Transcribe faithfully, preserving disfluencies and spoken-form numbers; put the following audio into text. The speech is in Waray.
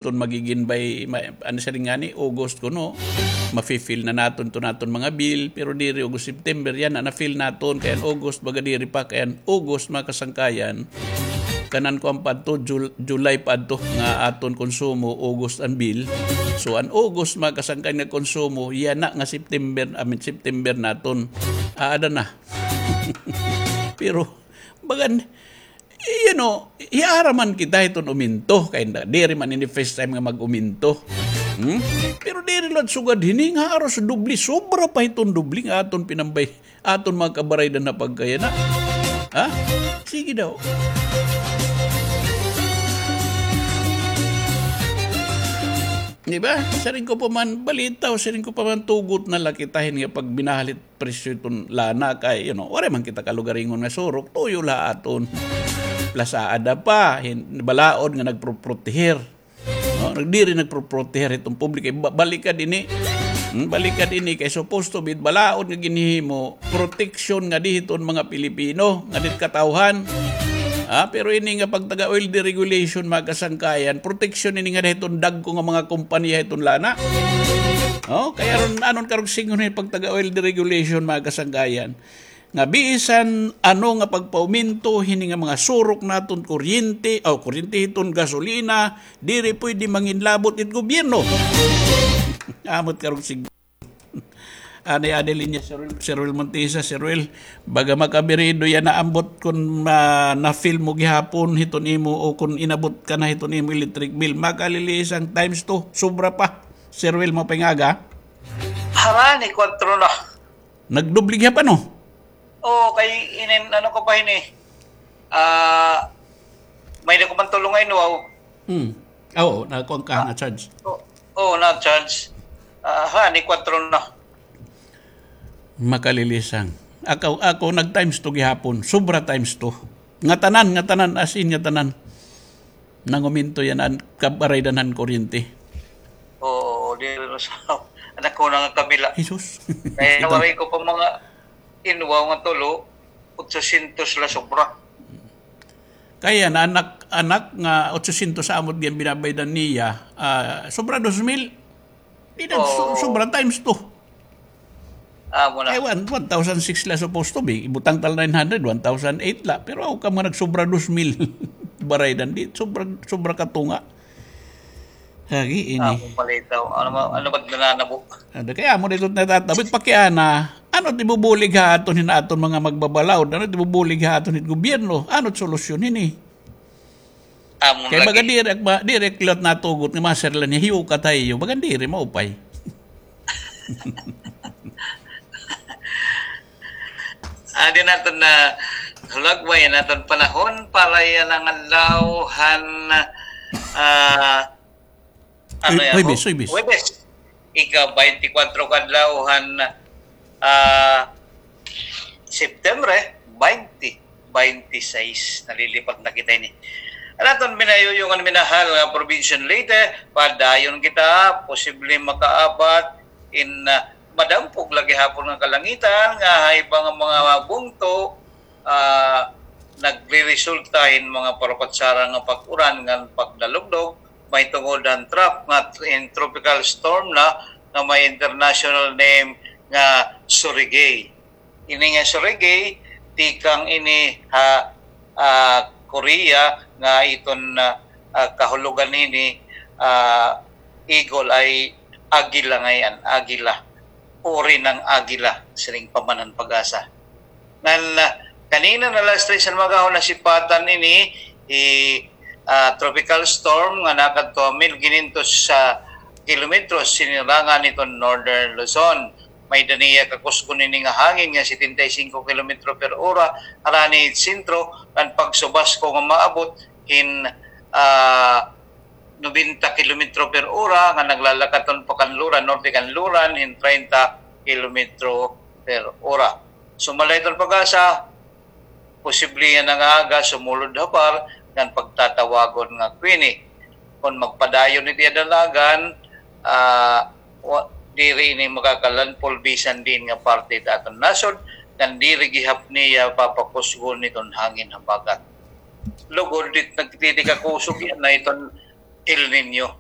Ton magigin by, ma-, ano siya rin nga ni, August kuno, mafi-feel na naton ton aton mga bill, pero diri August, September, yana, na-feel naton, kay an August, baga diri pa, kay an August, mga kasangkayan, kanan kuan pa adto, Jul-, July pa adto, nga aton konsumo, August an bill. So, an August, mga kasangkayan, nga konsumo, yana nga September, I mean, September naton, aada na. Pero, bagan, you know, hiara man kita hiton uminto, kay na, diri man ini first time nga mag-uminto. Hmm? Pero diri la sugad hini nga haros doble, sobra pa hiton doble nga aton pinambay, aton mga kabaraydan na pagkayana. Ha? Sige daw. Di ba? Siring ko pa man balita, o siring ko pa man tugot na la kita hin nga pagbinahal hit presyo hiton lana kay, you know, waray man kita kalugaringon nga surok, tuyo la aton. Plus aada pa, hin-, balaod nga nagproproteher. No? Nag-, diri nagproproteher hiton publiko. Ba-, balikad ini. Hmm, balikad ini kay supposed to be, balaod nga ginhihimo, proteksyon ngadi hiton mga Pilipino, ngadi hit katawhan. Ah, pero ini nga pagtaga-oil deregulation, mga kasangkayan, proteksyon ini ngadi hiton dagko nga mga kompanya hiton lana. Oh, kay aron, anon karog sidngon hin pagtaga-oil deregulation, mga kasangkayan, nga bisan ano nga pagpauminto hini nga mga surok naton kuryente, o kuryente hiton gasolina, diri pwede manginlabot it gobyerno. Amot karog sidngon. Ani, ani linya, Sir Ruel, Sir Ruel Montesa, Sir Ruel, baga makabirido yana ambot kon ma-, na-feel mo gihapon hiton imo o kon inabot ka na hiton imo electric bill. Makalilisang times two, sobra pa. Sir Ruel, maupay nga aga. Harani, kwatro na. Nagdoble gihap, ano? Oo, kay inin, ano ko pa hini? Ah, may-ada ko man tulo nga inwaw. Hmm. Oo, nakuan ka, na-charge. Oo, oo, na-charge. Ah, ha, ni kwatro na. Makalilisang. Ako, ako, nag-times two gihapon. Sobra times two. Ngatanan, ngatanan, as in, ngatanan. Nanguminto yana an kabaraydan han kuryente. Oo, di rin sa anak ko na nga kabila. Jesus. Kaya waray ko pa mga inwaw nga tulo, otsosyentos la sobra. Kaya na anak, anak nga otsosyentos sa amot gin binabaydan niya, ah, sobra dos mil. Di na, so-, sobra times two. Amo na. Kay one, one thousand six la supposed to be. Ibutang tal nine hundred, one thousand eight la. Pero ako ka mga nagsobra dos mil. Baraydan, di, sobra, sobra katunga. Lagi ini. Amo palitaw. Ano ma-, ano ba't nananabo? Ada kaya mo dito natatabit pakiana. Ano tibubulig ha aton hin aton mga magbabalaod? Ano tibubulig ha aton hin gobyerno? Ano solusyon ini? Amo kay baga lagi. Diri ak ba, diri ak liwat natugot nga mga sirlan niya, hiyo ka tayo, baga diri maupay. Adi naton na hulagway naton panahon para yana nga adlaw han, ah, Ano Huy-, yan, Huwebes, ho? Huwebes. Huwebes. Ika-twenty-four ka adlaw han, ah, September, eh, twenty twenty-six. Nalilipat na kita ini. An aton minayuyong an minahal nga probinsya han Leyte, padayon kita, posible makaabat in, ah, madampog la gihapon nga kalangitan, nga ha iba nga mga bungto, ah, nagreresulta hin mga parapatsara nga pag-uran ngan pagdalugdog, mahitungod han trough nga in tropical storm na nga may international name nga Surigae. Ini nga Surigae, tikang ini ha, ah, Korea nga iton, ah, ah, kahulogan ini, ah, eagle ay agila ngay-an, agila. Uri ng agila, siring pa man han PAGASA. Ngan, ah, kanina na alas tres han maghapon nasipatan ini, hi, ah, tropical storm nga nakadto ha mil kinyentos kilometros sinirangan hiton Northern Luzon. May-ada niya kakusgon ini nga hangin nga setenta y cinco kilometro per ora, harani hit sentro, ngan pagsubasko nga maabot hin, ah, nobenta kilometro per ora, nga naglalakat hiton pakanluran, norte kanluran, hin treinta kilometro per ora. Sumala hiton PAGASA, posible yana nga aga sumulod ha PAR ngan pagtatawagon nga Queenie. Kon magpadayon it iya dalagan, ah, wa-, diri ini makakalandfall bisan diin nga parte hit aton nasod, ngan diri gihap niya papakusgon hiton hangin habagat. Lugod it nagtitikakusog yana hiton El Niño.